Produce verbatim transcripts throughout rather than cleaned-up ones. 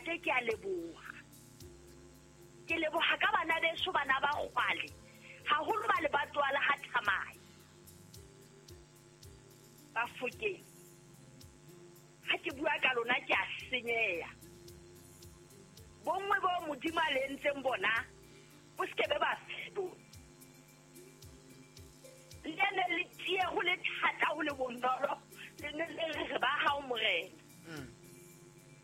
Ntate ke a leboha. Ke leboha ka bana beso bana ba kgwale. Haholo ba le batwala ha thamai. Ba fokeng. Ha ke bua ka lona ke a senyeha. Bongwe bo Modimo a le entseng bona bo se ke be ba fetoha. Le ne le tie ho le thata ho le bonolo le ne le re ba hao Morena.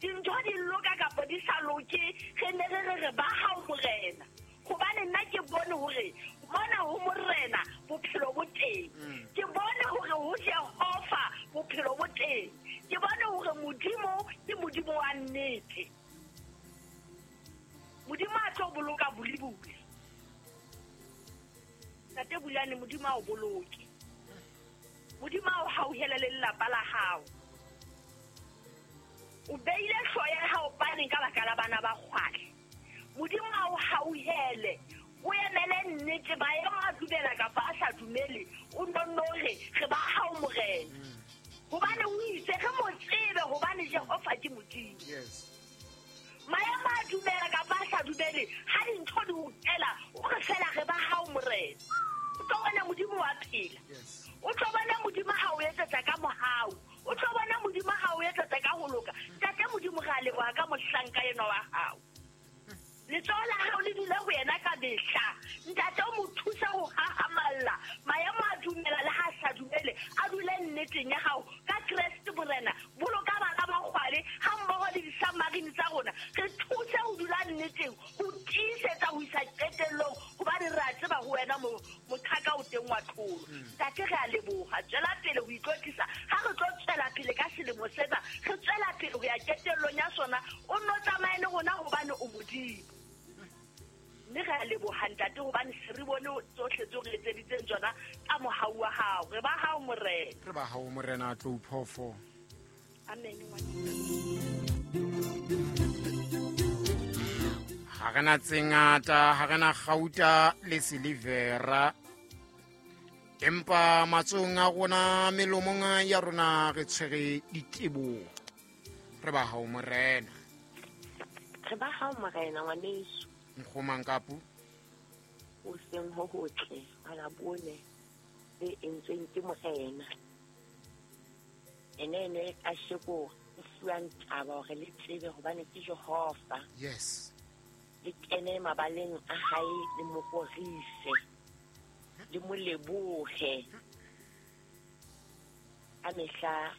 Dintho di loka kapa di sa loke re ne re re re ba hao Morena. Hobane nna ke bone hore mona ho Morena bophelo bo teng. Ke bone hore ho Jehova bophelo bo teng. Ke bone hore Modimo ke Modimo wa nnete. Modimo a tlo boloka bulibuli. Ntate Bulane Modimo a o boloke. Modimo a o hauhele le lelapa la hao. O beile hlooho ya hao paneng ka baka la bana ba kgwale. Modimo a o hauhele. O emele nnete maemo a dumela kapa a sa dumele. O nonno re re ba hao Morena. Hobane o itse re mo tsebe hobane Jehova ke Modimo. Yes. Maemo a dumela kapa a sa dumele ha dintho di o tela o re fela re ba hao Morena. O tlo bona Modimo wa phela. Yes. O tlo bona Modimo ha o etsetsa ka mohau. O tlo bona Modimo ha o etsetsa ka ho loka. Ntate Modimo re a leboha ka mohlanka enwa wa hao. Letsoho la hao le dule ho yena ka mehla. Ntate o mo thusa ho hahamalla. Maemo a dumela le ha a sa dumele, a dule nneteng ya hao. Ka Kreste Morena, boloka bana ba kgwale ha mmoho le disamarine tsa rona. Re thuse ho dula nneteng, ho tiisetsa ho isa qetellong, hobane re a tseba ho wena mo moqhaka o teng wa tlholo. Ntate re a leboha. Tswela pele ho itlotlisa. Ha re tlo tswela pele ka selemo sena, re tswela pele ho ya qetellong ya sona. O nno tsamaye le rona hobane o Modimo. Mme re a leboha ntate hobane se re bone tsohle tseo re etseditseng tsona ka mohau wa hao. Re ba hao Morena. Re ba hao Morena Tlou Phofo. Amen. Ha re na tse ngata, ha re na kgauta le silivera. Empa matsohong a rona, melomong ya rona re tshwere diteboho. Re ba hao Morena. Re ba hao Morena ngwaneso. Nkgomang kapu? O seng ho hotle, wa la bone le entsweng ke Morena. Ene ene ka sheko o fuwang taba hore le tsebe hobane ke Jehova. Yes. Le kene mabaleng a hae le mo rorise. Le mo lebohe. Ka mehla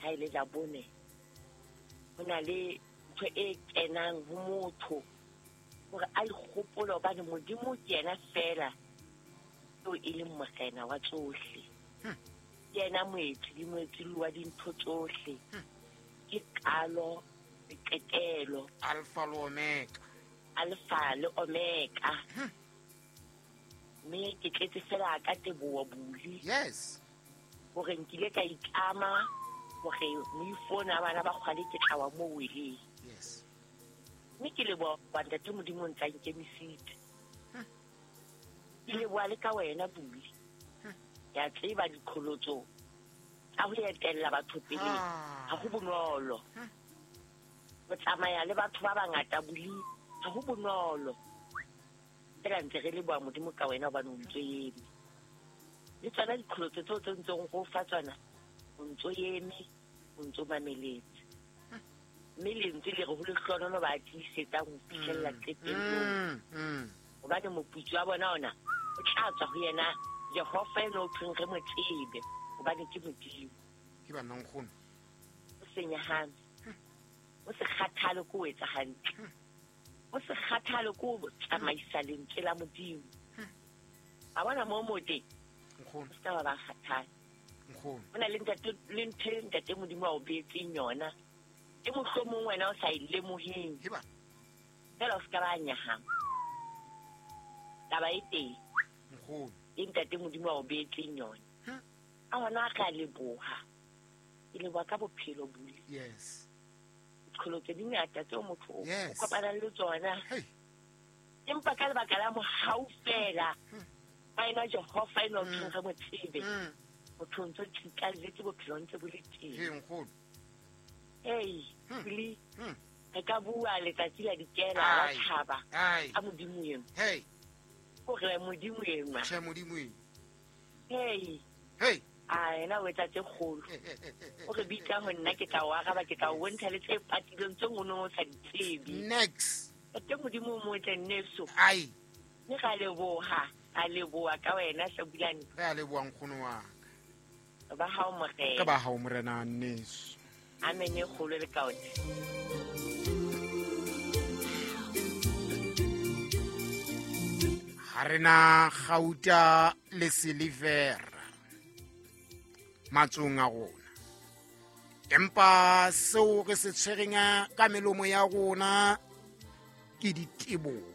ha ile la bone ho na le ntho e kenang ho motho hore a ikgopole hobane Modimo ke yena fela eo e leng Morena wa tsohle. Ke yena moetsi le moetsi wa dintho tsohle. Ke qalo le qetelo. Alpha le Omega. Alpha le Omega. Mme ke tletse fela ka teboho Buli. Yes. Hore nkile ka itlama hore moifo ona bana ba kgwale ke tla wa mo weleng. Yes. Mme ke leboha ntate Modimo o ntsa nkemisitse. Ke leboha le ka wena Buli. Ke a tseba diqholotso tsa ho etella batho pele ha ho bonolo. Ho tsamaya le batho ba bangata Buli ha ho bonolo. Fela ntse re leboha Modimo ka wena hobane o ntso eme. Le tsona diqholotso tseo tse ntseng go fa tsona o ntso eme, o ntso mameletse. Mme lentswe le re ho lehlohonolo ba tiisetsang ho fihlella qetellong. Hobane moputso wa bona ona o tla tswa ho yena Jehova eno o thweng re mo tsebe hobane ke Modimo. Ke bana nkgono. O se nyahame. O se kgathale ko o etsa hantle. O se kgathale ko o tsamaisa lentswe la Modimo. A bona mo mo teng. Nkgono. O se ka ba ba kgathala. Nkgono. Ho na le ntate le ntho e ntate Modimo a o beetseng yona. E mohlomong wena o sa e lemoheng. Heba. Fela o se ka ba nyahama. Taba e teng. Nkgono. E ntate Modimo a o beetseng yona. A hona re a leboha. Ke leboha ka bophelo Buli. Yes. Diqholotso di ngata tseo motho o Yes. kopanang le tsona. Hey. Empa ka lebaka la mohau fela, ba ena Jehova eno o thweng re mo tsebe. Motho o ntso tsitlalletse bophelo ntse bo le teng. He nkgono. Hey, Hmm. Buli. Hmm. Re ka bua letsatsi la dikela la Ai. thaba Ai. a modimo eno. Hey. Hore modimo enwa. Tjhe, modimo eno. Hey. Hey. A yena o etsa tse kgolo. O re bitsa ho nna ke tla o araba, ke tla o bontsha le tse patileng tse ngono o sa di tsebe. Next. Ntate modimo o motle nneso. Ai. Mme ra leboha, a leboha ka wena Hlabulane. Re a leboha nkgono wa ka. Ba hao morena. Ka ba hao morena nneso. Amen e kgolo le kaone. Ha re na kgauta le silivera matsong a rona, empa seo re se tshwereng ka melomo ya rona ke diteboho.